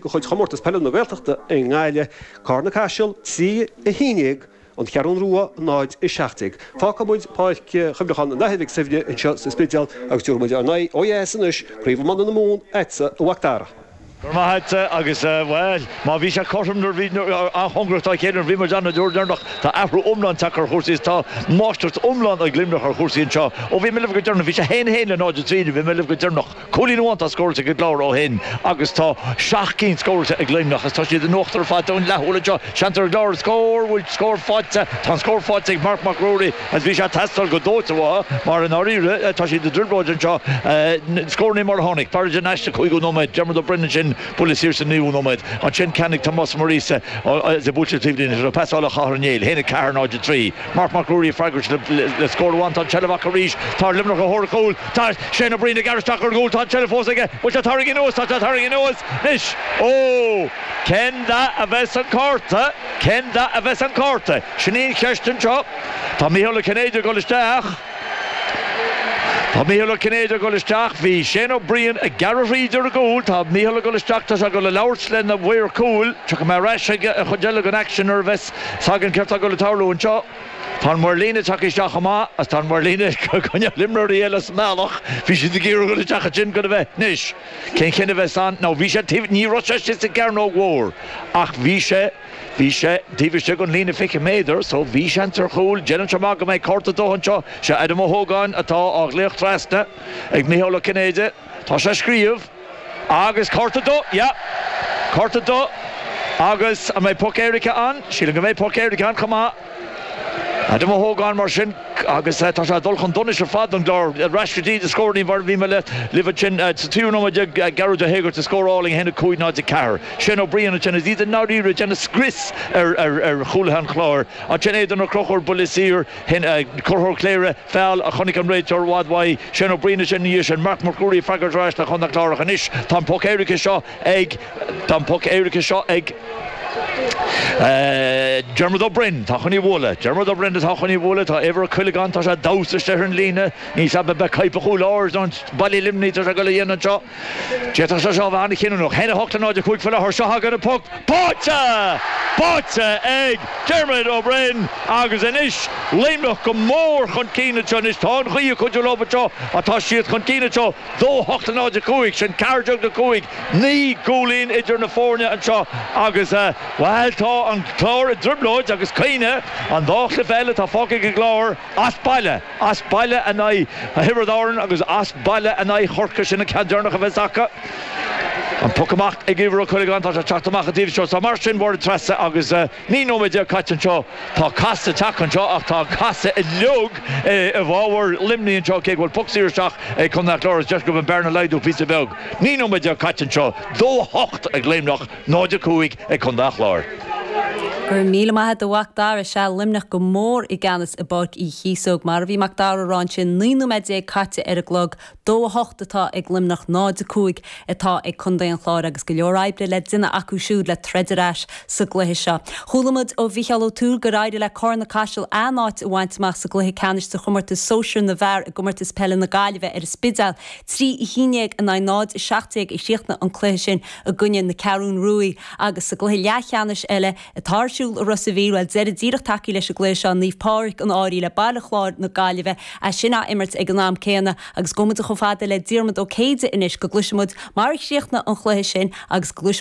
De chuid Chomórtas Peile na Gaeltachta i nGaillimh, Carna Caiseal 3, 11, An Cheathrún Rua 0, 17. Fágfaidh muid Páirc Chuimhneacháin an Athar Mhic Suibhne anseo sa Spidéal agus tabharfaidh muid ár n-aghaidh ó dheas anois, Craobh Iomána na Mumhan, agatsa, a Mhac Dara. Go raibh maith agat agus, bhuel, má bhí sé cothrom nuair a bhí, an-chóngarach dá chéile nuair a bhí muid ann an uair dheireanach, tá athrú iomlán tagtha ar chúrsaí is tá máistreacht iomlán ag Luimneach ar chúrsaí anseo. Ó bhí mé libh go deireanach, bhí sé 1-1 le 0-3 nuair a bhí mé libh go deireanach. Cúilín amháin atá scóráilte ag an gClár ó shin agus tá seacht gcinn scóráilte ag Luimneach agus tá siad in uachtar ar fad don leath-shúil anseo. Seans ar an gClár an scór, bhfuil scór faighte? Tá an scór faighte ag Marc Mac Ruairí agus bhí sé ag teastáil go dóite uathu mar i ndáiríre tá siad i dtrioblóid anseo. Scórannaí mar a tháinig, Barry in aiste cúigiú nóiméad, Diarmuid Ó Broin ansin buille saor sa naoú nóiméad. Ansin ceann ag Tomás Ó Muiríosa is é buailte taobh líne, pasáil ó Chathal Ó Néill, 1, 4, 0, 3. Marc Mac Ruairí ag freagairt le scór amháin. Tá an tseilbh acu arís. Tá Luimneach ar thóir an chúil. Tá Shane Ó Briain ag gearradh isteach ar an gcúl. Tá an tseilbh fós aige. Bhfuil sé tarraingthe anuas? Tá sé tarraingthe anuas anois. Ó! Cén dath a bheas an cárta? Cén dath a bheas an cárta? Sin í an cheist anseo. Tá Micheál Ó Cinnéide ag dul isteach. Tá Micheál Ó Cinnéide ag dul isteach. Bhí Shane Ó Briain ag gearradh thríd ar an gcúl. Tá Micheál ag dul isteach. Tá sé ag dul a labhairt lena mhaor cúil. Tiocfaidh mé ar ais ag an chuid eile den aicsean nuair a bheas 's againn céard tá ag dul ag tarlú anseo. Tá an maor líne tagtha isteach chomh maith agus tá an maor líne ag coinneáil imreoirí eile as an mbealach. Bhí siad ag iarraidh dul isteach ansin chun a bheith. Anois, cén chinneadh a bheas ann? Now bhí sé taobh, ní raibh sé istigh sa gcearnóg mhór ach bhí sé, bhí sé taobh istigh den líne 20 méadar so bhí seans ar chúl. Déanann sé amach go mbeidh cárta dubh anseo. Sé Adam Ó hÓgáin atá á ghlaoch trasna ag Micheál Ó Cinnéide. Tá sé ag scríobh. Agus cárta dubh, yeah. Cárta dubh. Agus an mbeidh poc éirice ann? Sílim go mbeidh poc éirice ann chomh maith. Adam Ó hÓgáin mar sin agus tá sé ag dul chun donais ar fad don gClár. Ar ais go dtí na scóranna mar a bhí mé libh ansin sa tríú nóiméad déag Gearóid Ó hÉigeartaigh scór álainn 1, 5, 0, 4. Shane Ó Briain ansin is iad i ndáiríre ag déanamh scrios ar chúlaithe an Chláir. Ansin Aidan Ó Conchúir buille saor. Curthóir Chléire, feall a chonaic an réiteoir i bhfad uaidh. Shane Ó Briain ansin ina dhiaidh sin. Marc Mac Ruairí ag freagairt ar ais le Contae an Chláir ach anois tá an poc éirice seo ag tá an poc éirice seo ag Diarmuid Ó Broin. Tá chun í a bhualadh. Diarmuid Ó Broin atá chun í a bhualadh. Tá Éibhear Ó Cuileagáin tá sé ag damhsa istigh ar an líne. Níl 's a'm ab é coipeadh chúl áir nó baile Luimnigh atá sé ag dul a dhéanamh anseo. D'fhéadfadh sé seo a bheith an-chinniúnach. 1-8 le 0-5 faoi láthair. Seo againn an poc báite! Báite ag Diarmuid Ó Broin agus anois Luimneach go mór chun cinn anseo. Anois tá an ghaoth ag cuidiú leo anseo ach tá siad chun cinn anseo. 2-8 le 0-5, sin 14 le 5, 9 gcúilín idir na foirne anseo agus, bhuel, tá an Clár i dtrioblóid agus cuimhnigh, an dá chluiche eile atá fágtha ag an gClár as baile. As baile in aghaidh Thiobraid Árann agus as baile in aghaidh Chorcaí, sin an ceann deireanach a bheas acu. An poc amach ag Éibhear Ó Cuileagáin, tá sé ag teacht amach an taobh seo. Tá mar sin Mháire Treasa agus 19 nóiméad caite anseo. Tá casadh tagtha anseo ach tá an casadh uilig i bhfabhar Luimnigh anseo cé go bhfuil poc saor isteach ag Contae an Chláir agus deis acu an bearna a laghdú píosa beag. 19 nóiméad caite anseo, 2-8 ag Luimneach. 0-5 ag Contae an Chláir. Go raibh míle maith agat a Mhac Dara. Sea, Luimneach go mór i gceannas i bPáirc Uí Chíosóg. Mar a bhí Mac Dara a rá ansin, 19 nóiméad caite ar an gclog, 2-8 atá ag Luimneach, 0-5 atá ag Contae an Chláir agus go leor oibre le déanamh acu siúd le troid ar ais sa gcluiche seo. Chuala muid ó Mhícheál Ó Tuathail gur éirigh le Carna Caiseal a n-áit a bhaint amach sa gcluiche ceannais de chomórtas sóisir na bhfear i gcomórtas peile na Gaillimhe ar an Spidéal. 3, 11 in aghaidh 0, 17 a chríochnaigh an cluiche sin. i gcoinne na Ceathrún Ruaidh agus sa gcluiche leathcheannais eile atá ar siúl i Ros a' Mhíl, bhuel, deireadh díreach tagtha leis an gcluiche seo, Naomh Pádraig an Fhairche le Baile Chláir na Gaillimhe, é sin á imirt ag an am céanna agus gabhfaidh muid chomh fada le Diarmuid Ó Céide anois go gcloisfidh muid mar a chríochnaigh an chluiche sin agus go gcloisfidh.